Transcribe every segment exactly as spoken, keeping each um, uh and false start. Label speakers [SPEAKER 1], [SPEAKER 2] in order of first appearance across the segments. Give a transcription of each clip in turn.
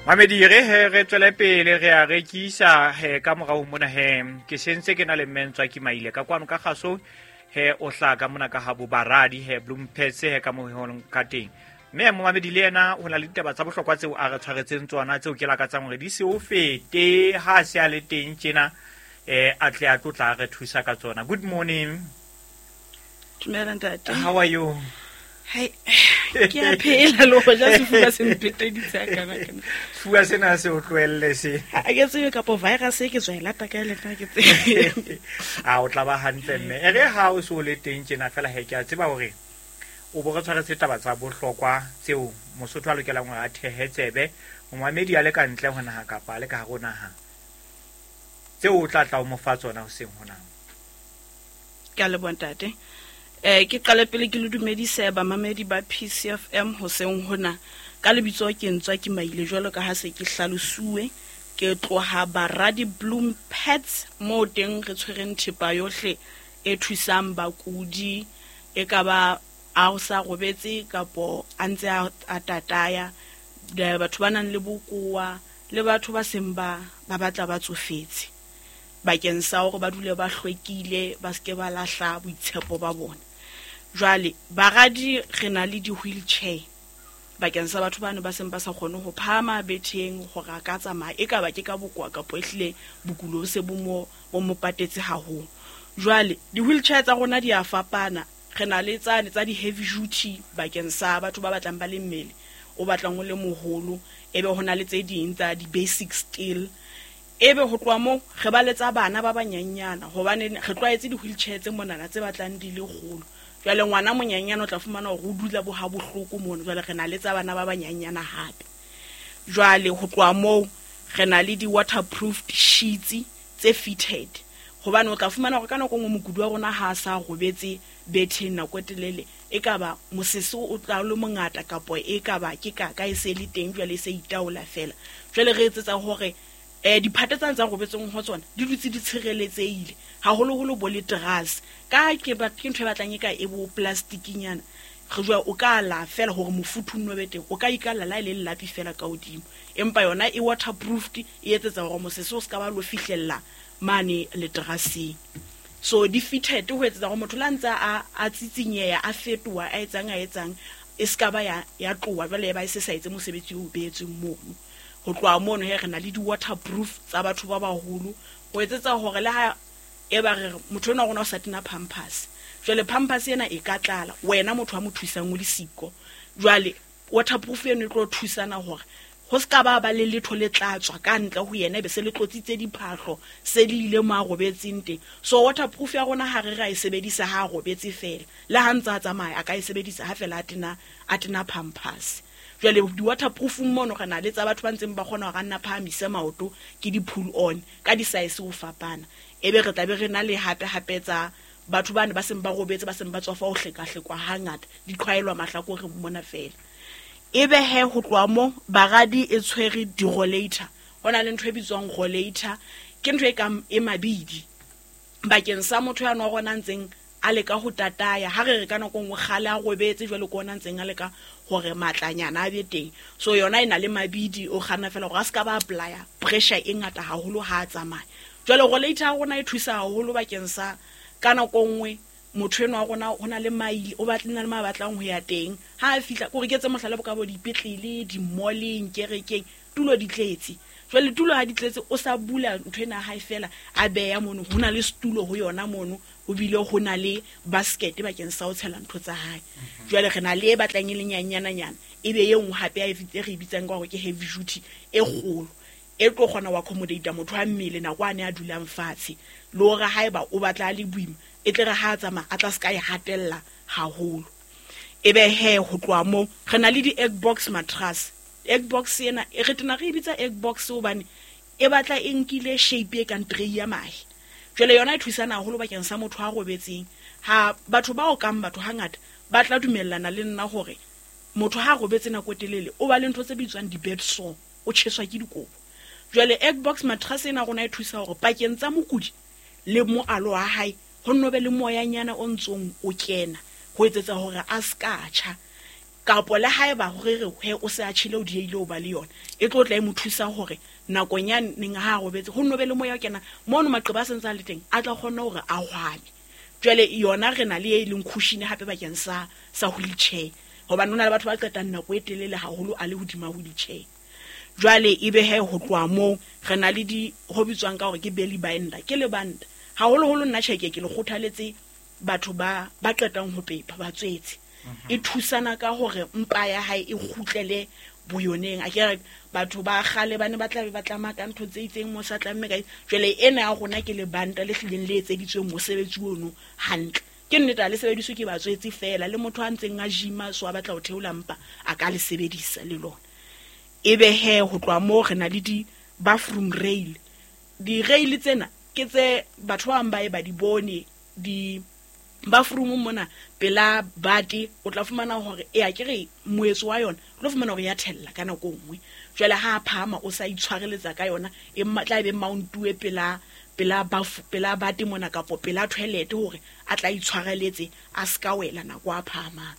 [SPEAKER 1] Mamedi re he re tswele pele re a rekisa he ka morao mona he ke sentse ke na le mmentswa ke maile ka kwano ka kgaso he o hlaka mona ka habo baradi he Bloompets he ka mo honong ka teng. Mme momamedi le yena ho na le ditaba tsa bohlokwa tseo a re tshwaretseng tsona tseo ke lakatsang hore di se o fete ha se a le teng tjena eh a tle a tlotla re thusa ka tsona. Good morning.
[SPEAKER 2] Dumela ntate.
[SPEAKER 1] How are you?
[SPEAKER 2] Hai, ke a phela le ho ja sefuba se mpheteditse kana kana.
[SPEAKER 1] Sefuba sena se o tlohelle se.
[SPEAKER 2] Ha ke tsebe kapo virus e ke tswa e lata ka le nna ke tsebe.
[SPEAKER 1] A o tla ba hantle mme. E re ha o so le teng tjena fela he ke a tseba hore o bo re tshwaretse taba tsa bohlokwa tseo Mosotho a lokelang hore a thehe tsebe, momamedi a le ka ntle ho naha kapa a le ka hare ho naha. Tseo o tla tla o mo fa tsona hoseng hona.
[SPEAKER 2] Ke a leboha ntate. Eh ke qale pele ke le dumedise bamamedi ba P C F M hoseng hona. Ka lebitso ke ntswa ke maile jwalo ka ha se ke hlalosuwe, ke tloha Baradi Bloom Pets mo teng re tshwereng thepa yohle e thusang bakudi, e ka ba a o sa robetse kapo a ntse a, a tataya, batho ba nang le bokowa le batho ba seng ba, ba batla ba tsofetse bakeng sa hore ba dule ba hlwekile, ba seke ba lahla boitshepo ba bona. Jwale baradi re na le di-wheelchair bakeng sa batho bano ba seng ba sa kgone ho phahama betheng hore a ka tsamaya, e ka ba ke ka bokowa kapo ehlile bokulo bo se bo mo, bo mo patetse haholo. Jwale di-wheelchair tsa rona di a fapana. Re na le tsane tsa di-heavy duty bakeng sa batho ba batlang ba le mmele o batlang o le moholo, ebe ho na le tse ding tsa di-basic steel. Ebe ho tloha moo re ba le tsa bana ba banyenyana, hobane re tlwaetse di-wheelchair tse monana tse batlang di le kgolo. Jwale ngwana monyenyana o tla fumana hore o dula bo ha bohloko mono. Jwale re na le tsa bana ba banyenyana hape. Jwale ho tloha moo re na le di-waterproofed sheets tse fitted, hobane o tla fumana hore ka nako e nngwe mokudi wa rona ha a sa robetse betheng nako e telele, e ka ba mosese o tla le mongata kapo e ka ba ke kaka e se le teng jwale e se itaola fela. Jwale re etsetsa hore eh diphate tsane tsa robetseng ho tsona di dutse di tshireletsehile, haholoholo bo le terrace ka ke ba ke ntho e batlang e ka e bo plastikinyana. Re jwa o ka la fela hore mofuthu o nno be teng, o ka ikalla la e le lapi fela ka hodimo, empa yona e waterproofed, e etsetsa hore mosese o ska ba lo fihlella mane le terraceng. So di fitted ho etsetsa hore motho la ntsa a, a tsitsinyeha, a fetoha, a etsang, a etsang, e ska ba ya, ya tloha jwale e ba e se sa etse mosebetsi o beetsweng mono. Ho tloha mono he re na le di-waterproof tsa batho ba baholo ho etsetsa hore le ha e ba re motho enwa wa rona o sa tena pampers, jwale pampers ena e ka tlala wena motho a mo thusang o le siko. Jwale waterproof eno e tlo thusana hore ho ska ba ba le letho le tla tswa ka ntle ho yena, ebe se le tlotsitse diphahlo, se le ile mo a robetseng teng. So waterproof ya rona ha re ra e sebedisa ha a robetse fela, le ha ntse a tsamaya a ka e sebedisa ha fela a tena, a tena pampers. Jwale di-waterproofung mono re na le tsa batho ba ntseng ba kgona hore a nna phahamise maoto, ke di-pull on ka di-size ho fapana. Ebe re tla be re na le hape hape tsa batho bane ba seng ba robetse, ba seng ba tswafa ho hlekahlekwa hangata, di qhwaelwa mahlakoreng mona fela. Ebe he ho tloha mo baradi e tshwere di-rollator. Ho na le ntho e bitswang rollator, ke ntho e kang e mabidi bakeng sa motho ya nwa rona ntseng a leka ho tataya. Ha re re ka nako e nngwe kgale a robetse jwale ke ona ntseng a leka hore matlanyana a be teng. So yona e na le mabidi, o kganna fela hore a ska ba apply-a pressure e ngata haholo ha a tsamaya. Jwale rollator ya rona e thusa haholo bakeng sa ka nako e nngwe motho enwa wa rona ho na le maile, o batla na le ma batlang ho ya teng. Ha a fihla, kore ke etse mohlala bo ka bo dipetlele, di-mall-eng, kerekeng, tulo di tletse. Jwale tulo ha di tletse, o sa bula ntho ena hae fela, a beha mono, ho na le setulo ho yona mono, ho bile ho na le basket bakeng sa ho tshela ntho tsa hae.
[SPEAKER 1] Mhm.
[SPEAKER 2] Jwale re na le e batlang e le nyanyananyana, e be e nngwe hape e re e bitsang ka hore ke heavy duty e kgolo, e tlo kgona ho accommodate motho wa mmele nako a ne a dulang fatshe, le hore haeba o batla a le boima, e tle re ha a tsamaya a tla ska e hatella haholo. Ebe he ho tloha moo re na le di-egg box mattress. Egg box ena e re tena re e bitsa egg box hobane e batla e nkile shape e kang tray ya mahe. Jwale yona e thusana haholo bakeng sa motho a robetseng. Ha batho ba okang batho hangata ba tla dumellana le nna hore motho ha robetse nako e telele o ba le ntho tse bitswang di-bed sore, o tjheswa ke dikobo. Jwale egg box mattress ena rona e thusa hore pakeng tsa mokudi le moalo wa hae ho nno be le moyanyana o ntsong o kena ho etsetsa hore a ska tjha. Kapo le haeba hore re he o se a tjhele o dieile o ba le yona, e tlo tla e mo thusa hore nakong ya neng ha a robetse ho nno be le moya o kena mono, maqeba a sentse a le teng, a tla kgona hore a hwame. Jwale yona re na le e leng cushion hape bakeng sa sa wheelchair, hobane ho na le batho ba qetang nako e telele haholo a le hodima wheelchair. Jwale ebe he ho tloha moo re na le di ho bitswang ka hore ke belly binder, ke lebanta. Haholoholo nna tjhe ke le kgothaletse batho ba ba qetang ho pepa ba tswetse. E thusana ka hore mpa ya hae e kgutlele boyoneng. A ke re batho ba kgale ba ne ba tla be ba tlama ka ntho tse itseng mo sa tlamme ka. Jwale ena ya rona ke lebanta le hlileng le etseditsweng mosebetsi ono hantle. Ke nnete ha le sebediswe ke batswetse feela, le motho a ntseng a gym-a so a batla ho theola mpa a ka le sebedisa le lona. Ebe he ho tloha moo re na le di bathroom rail. Di-rail tsena ke tse batho ba bang ba e ba di bone di bathroom mona pela bate, o tla fumana hore e a ke re moetso wa yona o tlo fumana hore ya thella ka nako nngwe. Jwale ha a phahama o sa itshwareletsa ka yona, e tla be mountuwe pela pela bafu pela bate mona kapo pela toilet hore a tla itshwareletse a ska wela nako a phahamang.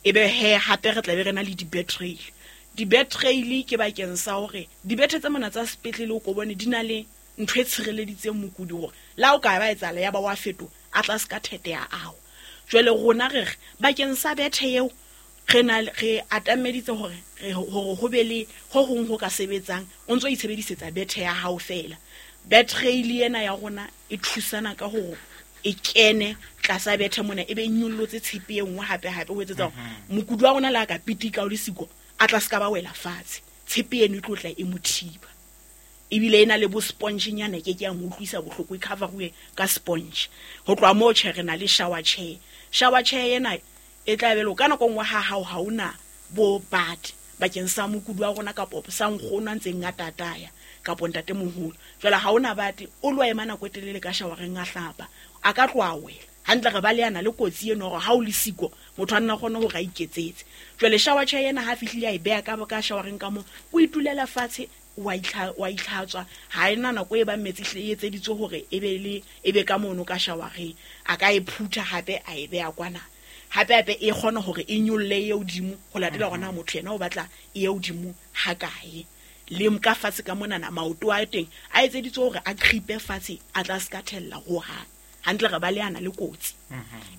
[SPEAKER 2] Ebe he hape re tla be re na le di-bed rail. Di-bed rail ke bakeng sa hore dibethe tse mona tsa sepetlele o ko bone di na le ntho e tshireleditseng mokudi hore la o ka ba etsahala ya ba wa fetoha a tla ska thete ya ao. Jwale rona re re bakeng sa bethe eo re na re atameditse hore re hore ho be le ho hong ho ka sebetsang o ntso itshebedisetsa bethe ya hao feela. Bed rail ena ya rona e thusana ka hore e kene tlasa bethe mona, e be nyollotse tshepe e nngwe hape hape ho etsetsa hore mokudi wa rona le a ka pitika o le siko a tla ska ba wela fatshe, tshepe eno e tlo tla e mo thiba. Ebile e na le bo sponge nyana ke ke ya mo utlwisa bohloko, e cover-uwe ka sponge. Ho tloha moo tjhe re na le shower chair. Shower chair ena e tla be le ka nako nngwe ha hao ha ona bo bat bakeng sa mokudi wa rona kapo sa nkgono a ntseng a tataya kapo ntatemoholo. Jwale ha ona bate o lo ema nako e telele ka showereng a hlapa, a ka tloha wela hantle. Re ba le yana le kotsi eno hore ha o le siko motho a nna kgone hore a iketsetse. Jwale shower chair ena ha fihlile a e beha ka ka showereng ka moo, o itulela fatshe wa itlha wa itlhatswa, ha ena nako e ba metsi hle e etseditswe hore e be le e be ka mono ka showereng, a ka e phutha hape a e beha kwana. Hape hape e kgona hore e nyolle e hodimo ho latela hore na motho yena o batla e hodimo ha kae. Le ka fatshe ka monana maoto a teng a etseditswe hore a gripe fatshe a tla ska thella hohang. Hantle re ba le ana le kotsi.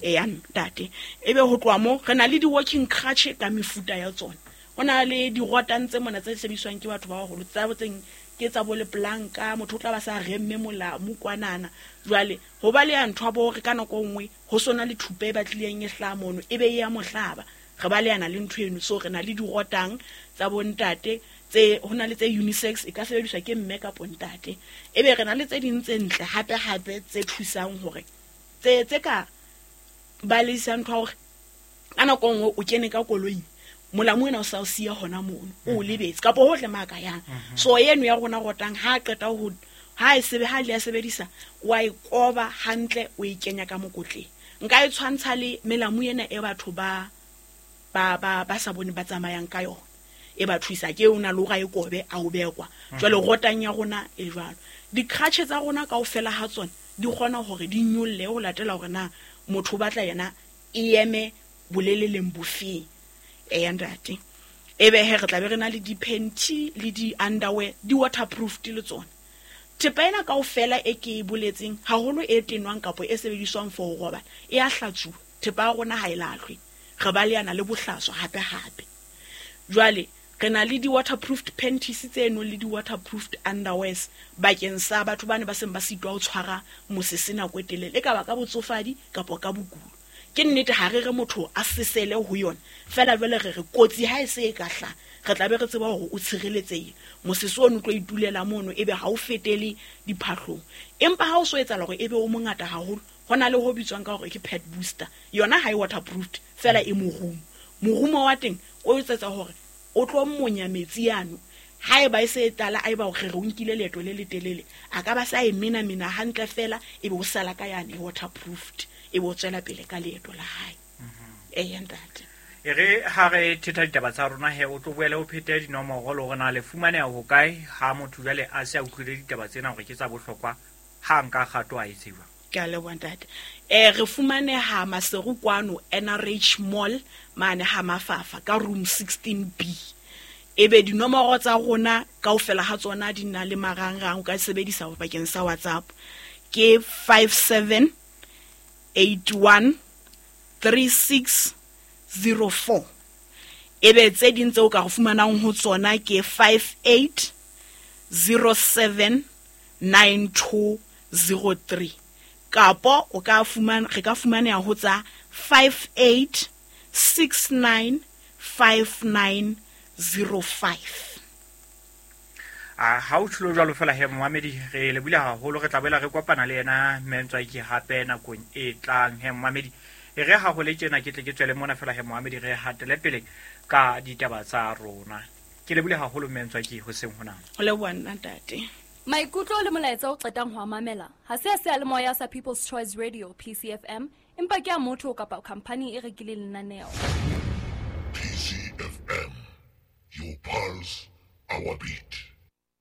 [SPEAKER 2] Eya ntate. Ebe ho tloha moo re na le di-walking crutch ka mefuta ya tsona. Ho na le dirotang tse mona tse sebediswang ke batho ba baholo, tsa botseng ke tsa bo leplanka, motho o tla ba sa remme molamu kwanana. Jwale ho ba le ya ntho ya bo hore ka nako nngwe ho sona le thupa e batlileng e hlaha mono, e be e ya mohlaba. Re ba le yana le ntho eno. So re na le dirotang tsa bo ntate tse ho na le tse unisex, e ka sebediswa ke mme kapo ntate. Ebe re na le tse ding tse ntle hape hape tse thusang hore tse tse ka baleisa ntho ya hore ka nako nngwe o kene ka koloing, molamu ena o sa o siya hona mono, o lebetse kapo hohle ma ka yang. So eno ya rona rotang ha qeta ho ha e sebe ha le ya sebedisa wa e koba hantle o e kenya ka mokotleng. Nka e tshwantsha le melamu ena e batho ba ba ba ba sa bone ba tsamayang ka yona, e ba thusa ke o na le hore a e kobe a o bekwa. Jwale rotang ya rona e jwalo. Di-crutch tsa rona kaofela ha tsona di kgona hore di nyolle ho latela hore na motho o batla yena e eme boleleleng bofeng. Eya ntate. Ebe he re tla be re na le di-panty le di-underwear, di-waterproof le tsona. Thepa ena kaofela e ke e boletseng haholo e tenwang kapo e sebediswang for ho robala e a hlatsuwa. Thepa ya rona ha e lahlwe, re ba le yana le bohlaswa hape hape. Jwale re na le di-waterproofed panties tseno le di-waterproofed underwears bakeng sa batho bane ba seng ba sitwa ho tshwara mosese nako e telele, e ka ba ka botsofadi kapo ka bokulo. Ke nnete ha re re motho a sesele ho yona feela, jwale re re kotsi ha e se e ka hlaha re tla be re tseba hore o tshireletsehile. Mosese ono o tlo itulela mono ebe ha o fetele diphahlong. Empa ha o so etsahala hore ebe o mongata haholo, ho na le ho bitswang ka hore ke pad booster. Yona ha e waterproofed feela, e morumo. Morumo wa teng o etsetsa hore o tlo monya metsi ano. Haeba e se e tlala, haeba o re o nkile leeto le letelele, a ka ba sa e mena mena hantle feela, ebe o sala ka yane waterproofed, ebe o tswela pele ka leeto la hae. Eya ntate.
[SPEAKER 1] E re ha re thetha ditaba tsa rona he, o tlo boele o phete dinomoro le hore na le fumaneha ho kae ha motho jwale a se a utlwile ditaba tsena hore ke tsa bohlokwa, ha nka kgato a e tseba.
[SPEAKER 2] Ke a leboha ntate. Eh re fumaneha Maseru kwano N R H Mall mane ha Mafafa ka room sixteen B. Ebe dinomoro tsa rona kaofela ha tsona di na le marangrang, o ka sebedisa bakeng sa WhatsApp ke five seven eight one three six zero four. Ebe tse ding tseo ka re fumanang ho tsona ke five eight zero seven nine two zero three. Kapo o ka fumana, re ka fumaneha ho tsa five eight six nine five nine zero five.
[SPEAKER 1] A ha o tshilo jwalo fela he momamedi, re lebohile haholo, re tla boela re kopana le yena Mme Ntswaki hape nakong e tlang. He momamedi, e re ha ho le tjena ke tle ke tswele mona fela he momamedi, re hatele pele ka ditaba tsa rona. Ke lebohile haholo Mme Ntswaki hoseng hona.
[SPEAKER 2] O leboha nna ntate.
[SPEAKER 3] Maikutlo le molaetsa o qetang ho a mamela ha se a seyalemoya sa People's Choice Radio P C F M, empa ke a motho kapa khampani e rekileng lenaneo.
[SPEAKER 4] P C F M, your pulse, our beat.